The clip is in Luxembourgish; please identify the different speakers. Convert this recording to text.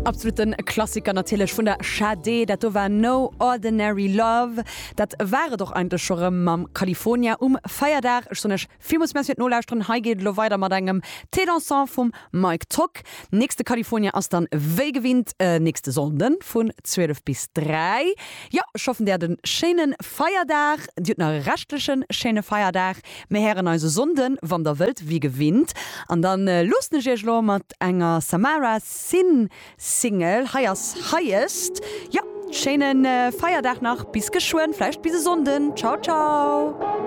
Speaker 1: Absoluten Klassiker natierlech vun der Sade, dat do war No Ordinary Love. Dat war et och eigentlech scho rëm mam California um Feierdag. Ech soen iech villmools Merci fir d'Nolauschteren. Hei geet et elo weider mat engem Thé dansant vum Mike Tock. Nächste California ass dann wéi gewinnt nächste Sonnden vun 12 bis 3. Jo, ech hoffen dir hat e schéine Feierdag. Dir hutt nach e reschtleche schéine Feierdag. Mir héieren eis e Sonnden, wann der wëllt, wéi gewinnt. An dann loossen ech iech elo mat enger Samara Sin Single. Hei ass Highest. Jo, schéine Feierdag nach, bis geschwënn, vläicht bis e Sonnden. Ciao, ciao.